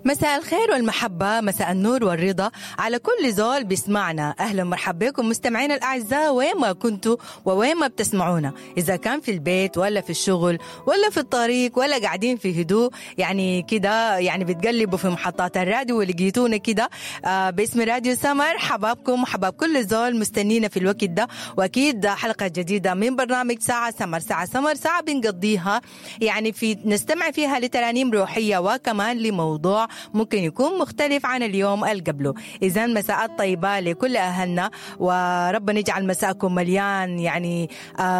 مساء الخير والمحبة، مساء النور والرضا على كل زول بيسمعنا. أهلا ومرحبا بكم مستمعينا الأعزاء وين ما كنتوا ووين ما بتسمعونا، إذا كان في البيت ولا في الشغل ولا في الطريق ولا قاعدين في هدوء يعني كده، يعني بتقلبوا في محطات الراديو ولقيتونا كده باسم راديو سمر. حبابكم وحباب كل زول مستنينا في الوقت ده، وأكيد حلقة جديدة من برنامج ساعة سمر. ساعة سمر ساعة بنقضيها يعني في نستمع فيها لترانيم روحية وكمان لموضوع ممكن يكون مختلف عن اليوم اللي قبله. إذا مساءات طيبة لكل أهلنا، وربنا يجعل مساءكم مليان يعني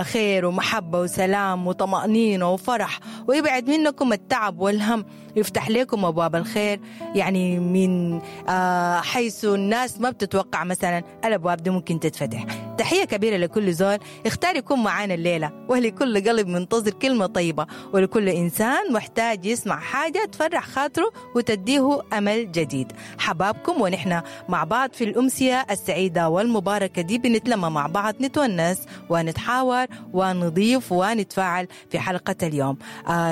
خير ومحبة وسلام وطمأنينة وفرح، ويبعد منكم التعب والهم، يفتح لكم أبواب الخير يعني من حيث الناس ما بتتوقع مثلا الأبواب دي ممكن تتفتح. تحية كبيرة لكل زول اختار يكون معانا الليلة، ولكل قلب منتظر كلمة طيبة، ولكل إنسان محتاج يسمع حاجة تفرح خاطره وتديه أمل جديد. حبابكم ونحن مع بعض في الأمسية السعيدة والمباركة دي، بنتلم مع بعض، نتونس ونتحاور ونضيف ونتفاعل في حلقة اليوم.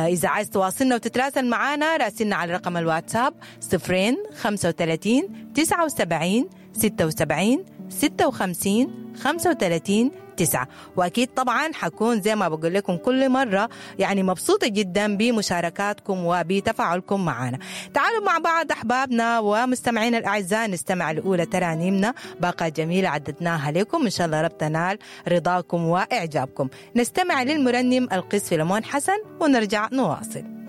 إذا عايز تواصلنا وتتراسل معنا راسلنا على رقم الواتساب 0 35 79 76 56 35 9. وأكيد طبعا حكون زي ما بقول لكم كل مرة يعني مبسوطة جدا بمشاركاتكم وبتفاعلكم معنا. تعالوا مع بعض أحبابنا ومستمعينا الأعزاء نستمع لأولى ترانيمنا، باقة جميلة عددناها لكم، إن شاء الله رب تنال رضاكم وإعجابكم. نستمع للمرنم القس فيلمون حسن ونرجع نواصل.